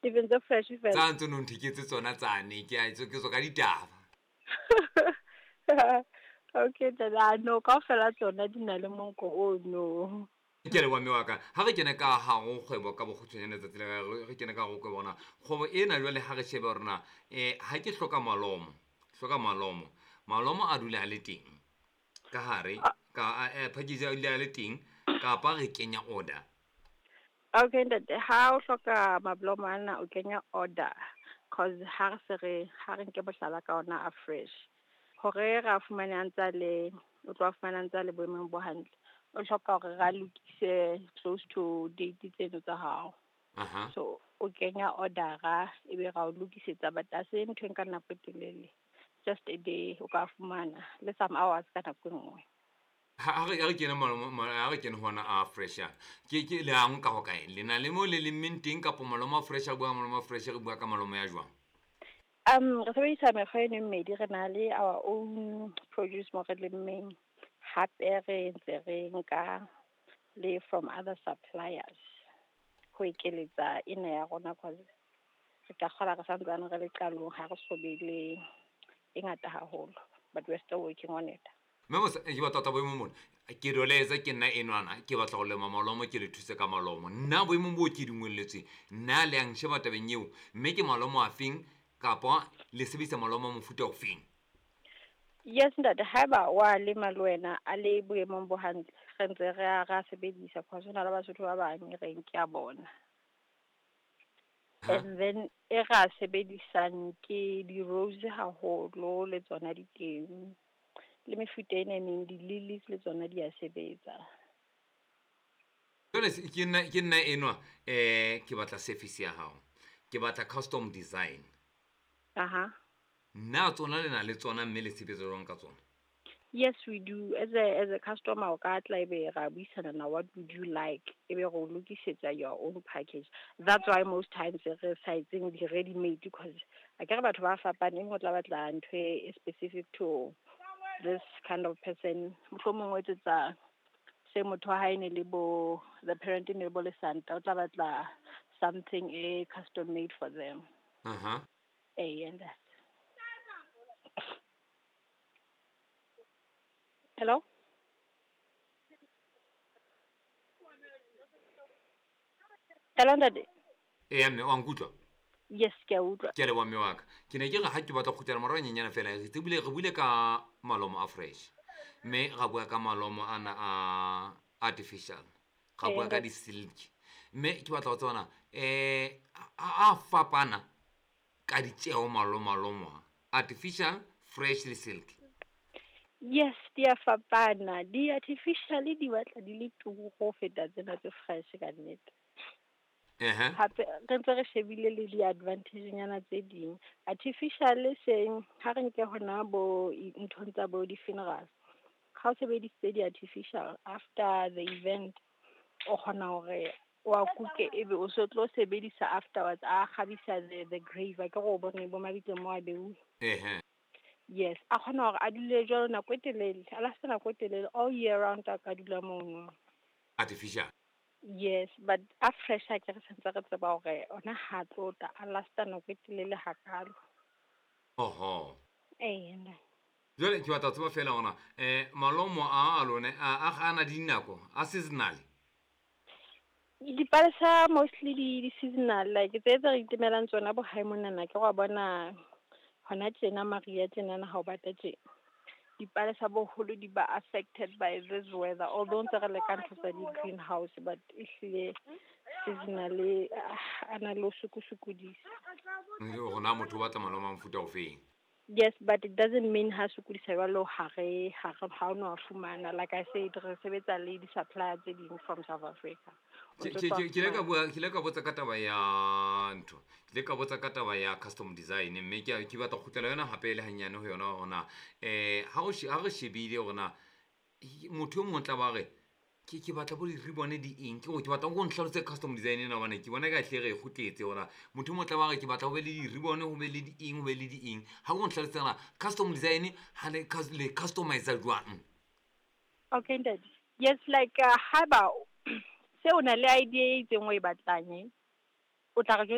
Difeng tse fresh fela? Tsa ntse no ntheketse tsona tsane, ke a ke tswa ka ditaba. Okay, ntate, ah, no, kaofela tsona di na le monko o no. Ke a leboha mme wa ka. Ha re kene ka hare ho kgwebo ka bokgutshwanyane letsatsi la re kene ka hare ho kgwebo na. Kgwebo ena jwale ha re shebe hore na ha ke hloka malomo, hloka malomo. Malomo a dula a le teng ka hare ka package a dula a le teng kapa re kenya order. Okay ntate, ha o hloka mablomo ana o kenya order, cause ha re se re ha re nke mohlala ka ona a fresh. Hore ra fumane a ntsa le o tlo fumana ntsa le boemong bo hantle. O hloka hore ra lokise close to date tseno tsa hao. So o kenya order-a ebe ra o lokisetsa, but ha se ntho e nka nako e telele. Just a day o ka fumana le some hours ka nako e nngwe. Ha re kene ha re kene hona a fresh ana. Ke le a nka ho kae? Le na le mo le lemmeng teng kapa malomo a fresh a bua malomo a fresh re bua ka malomo ya jwang? Re sebedisa mekgwa eno e mmedi, re na le our own produce mo re lemmeng, hape re ntse re nka le from other suppliers ho ekeletsa ena ya rona, cause re ka kgola re santsane re le qalong, ha re so be le e ngata haholo, but we're still working on it. Mme mosa ke batla tla boemong mona. Ke doleza ke nna enwana, ke batla ho lema malomo, ke le thuse ka malomo. Nna boemong bo ke dingwelletsweng, nna le yang sheba tabeng eo, mme ke malomo a feng kapa le sebedisa malomo a mofuta o feng? Yes ntate, haeba wa lema le wena a le boemong bo hantle, re ntse re a ra sebedisa, cause hona le Basotho ba bang re ke a bona. And then e ra sebedisang ke di-rose haholo le tsona di teng. Le mefuta ena e meng, di-lilies le tsona di a sebetsa. Jwale ke nna enwa, ke batla service ya hao. Ke batla custom design. Aha. Nna tsona le na le tsona mme le sebetsa jwang ka tsona? Yes, we do. As a customer, o ka tla ebe ra buisana na what would you like, ebe re o lokisetsa your own package. That's why most times re sa etseng di-ready made, because akere batho ba fapane, e mong o tla batla ntho e specific to this kind of person. Mohlomong o etsetsa se motho wa hae ne le bo the parent ne le bo lesanta, o tla batla something e custom made for them. Eh, and that. Hello? Hello ntate. Eya mme, wa nkutlwa? Yes, ke a utlwa. Ke a leboha mme wa ka. Ke ne ke re ha ke batla ho kgutlela morao nyenyana fela, re tsebile re buile ka malomo a fresh. Mme ra bua ka malomo ana a artificial. Ra bua ka di-silk. Mme ke batla ho tseba na a fapana ka ditjeho malomo a artificial, fresh le silk. Yes, di a fapana. Di-artificial di batla di le turu ho feta tsena tse fresh ka nnete. Hape re ntse re shebile le di-advantage nyana tse ding. Artificial seng ha re nke hona bo nthong tsa bo di-funerals. Ha o sebedisitse di-artificial after the event, o kgona hore wa kuke ebe o so tlo sebedisa afterwards, a kgabisa the grave, akere o bone bo mabitleng mo a beuwe. Yes, a kgona hore a dule jwalo nako e telele, a last nako e telele all year round a ka dula mono. Artificial. Yes, but a fresh a ke re santse re tseba hore ona ha tlo tla a lasta nako e telele hakalo. Oho. Eh, nna. Jwale ke batla ho tseba fela hore na malomo a lone a na dinako a seasonal. Dipalesa mostly di seasonal, like tse tse re itemelang tsona bo hae monana, ke wa bona hona tjena mariha tjenana ha o bata tje. Dipalesa boholo di ba affected by this weather, although ntse re leka ntho tsa di-greenhouse, but ehlile seasonally a na le ho sokosokodisa. Hore na motho o batla malomo a mofuta o feng. Yes, but it doesn't mean ha sokodisa jwalo ha re ha re ha o no a fumana. Like I said, re sebetsa le di-supplier tse ding from South Africa. O Ke ntso ke tswa ke ile ka fumana. bua, ke ile ka botsa ka taba ya ntho. Ke ile ka botsa ka taba ya custom design, mme ke batla ho kgutlela yona hape le hanyane ho yona hore na ha re shebile hore na motho e mong o tla ba re ke batla bo di-ribbon di eng, ke hore ke batla o nhlalosetse custom design ena hobane ke bona ka hle re e kgutletse hore na motho e mong o tla ba re ke batla ho be le di-ribbon, ho be le di eng, ho be le di eng. Ha o nhlalosetse hore na custom design ha le le customize jwang? Okay, ntate. Yes, like haeba se o na le idea e itseng o e batlang, o tla re jwetsa.